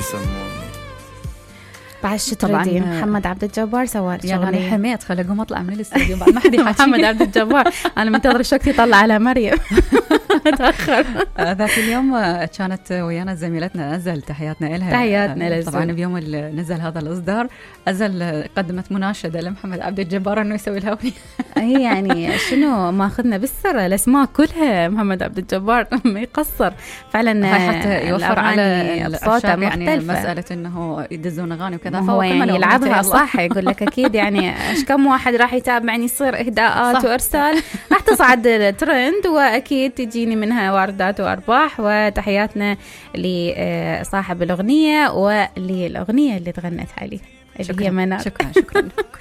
يسموني. بعد شو تردين؟ محمد عبد الجبار سوى يعني حميت خلي اقوم اطلع من الاستوديو بعد ما حد يحكي. محمد عبد الجبار انا منتظر شوكتي يطلع على مريم. تاخر. ذاك اليوم كانت ويانا زميلتنا أزل، تحياتنا لها. تحياتنا لها. طبعا بيوم اللي نزل هذا الإصدار أزل قدمت مناشدة لمحمد عبد الجبار انه يسوي لها اغنية. هي يعني شنو ماخذنا بالسر الاسماء كلها محمد عبد الجبار ما يقصر فعلا، حتى يوفر على الصوت يعني مسألة انه يدزون اغاني وكذا، فهو يعني يلعبها صح. يقول لك اكيد يعني ايش كم واحد راح يتابعني يصير اهداءات صح. وارسال راح تصعد الترند واكيد تجيني منها واردات وارباح. وتحياتنا لصاحب الاغنيه وللاغنيه اللي تغنت عليه اللي هي منار. شكرا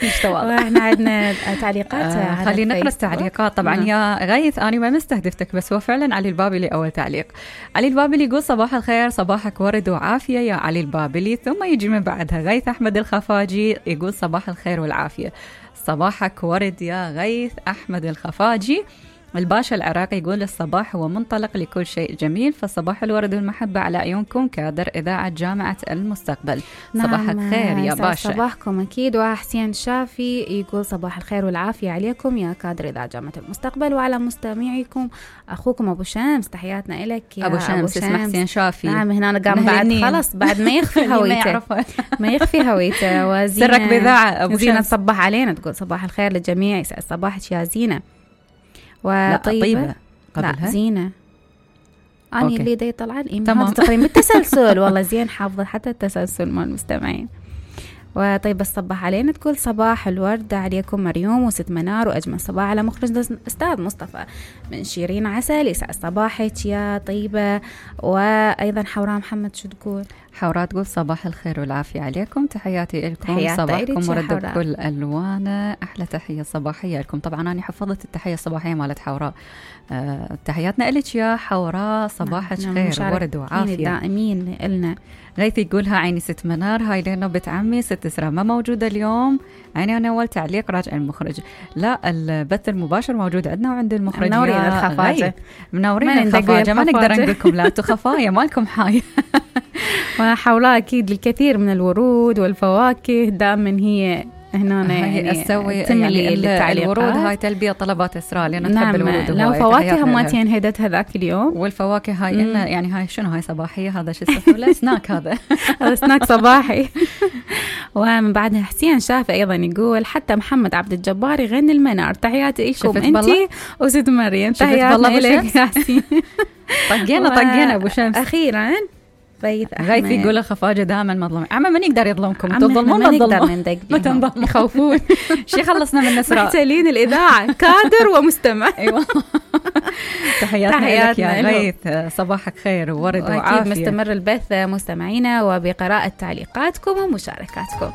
كلش تواضع. واحنا عندنا تعليقات. خلينا نقرا التعليقات. طبعا يا غيث انا ما مستهدفتك، بس هو فعلا علي البابلي اول تعليق. علي البابلي يقول صباح الخير، صباحك ورد وعافيه يا علي البابلي. ثم يجي من بعدها غيث احمد الخفاجي يقول صباح الخير والعافيه. صباحك ورد يا غيث احمد الخفاجي. الباشا العراقي يقول الصباح هو منطلق لكل شيء جميل، فصباح الورد والمحبة على عيونكم كادر إذاعة جامعة المستقبل. نعم. صباحك خير يا باشا. صباحكم أكيد. وحسين شافي يقول صباح الخير والعافية عليكم يا كادر إذاعة جامعة المستقبل وعلى مستمعيكم. أخوكم أبو شمس تحياتنا إلك يا أبو شمس. اسمه حسين شافي. نعم هنا قام بعد خلص بعد ما يخفي هويته. ما يخفي هويته. وزينة سرك بذاعة أبو زينة شمس. تصبح علينا تقول صباح الخير للجميع، يسعد صباحك يا زينة. وطيبة قبلها لا زينة أنا أوكي. اللي دي طلع الإيمان هذا تقريبا بالتسلسل. والله زين حافظة حتى التسلسل مال المستمعين. وطيب الصباح علينا تقول صباح الورد عليكم مريوم وست منار وأجمل صباح على مخرج أستاذ مصطفى من شيرين عسل. يسعد صباحك يا طيبة. وأيضا حوراء محمد شو تقول؟ حوراء تقول صباح الخير والعافية عليكم، تحياتي لكم، صباحكم ورد بكل ألوانه، أحلى تحية صباحية لكم. طبعا أنا حفظت التحية الصباحية مالت حوراء. تحياتنا لك يا حوراء، صباحك خير ورد وعافية دائمين إلنا. غيث يقولها عيني ست منار، هاي لنا بنت عمي ست إسراء ما موجودة اليوم. عيني أنا أول تعليق راجع المخرج. لا البث المباشر موجود عندنا وعند المخرج. منورين الخفاجة. منورين الخفاجة. ما نقدر نقول لكم لا انتوا خفايا مالكم حاي. وحولها أكيد الكثير من الورود والفواكه دائما هي هنا يعني أسوي يعني الورود هاي تلبية طلبات إسراء لأن نحب الورود. لو فواكه هماتين هدت هذاك اليوم. والفواكه هاي إلنا يعني هاي شنو هاي صباحية هذا شو اسمه سناك هذا. هذا سناك صباحي. ومن بعدها حسين شافي أيضا يقول حتى محمد عبد الجبار يغني المنار. تحياتي لكم أنتي وست مريم. تحياتنا لك يا حسين. طقينا أبو شمس أخيرا. غيث يقول الخفاجة دائما مظلوم. عم من يقدر يظلمكم؟ تظلمون ما نقدر ندق ما تنظلمون يخوفون. شي خلصنا من نسراء محتلين الإذاعة كادر ومستمع. أيوة. تحياتنا لك يا غيث، صباحك خير وورد وعافية. مستمر البث مستمعينا وبقراءة تعليقاتكم ومشاركاتكم.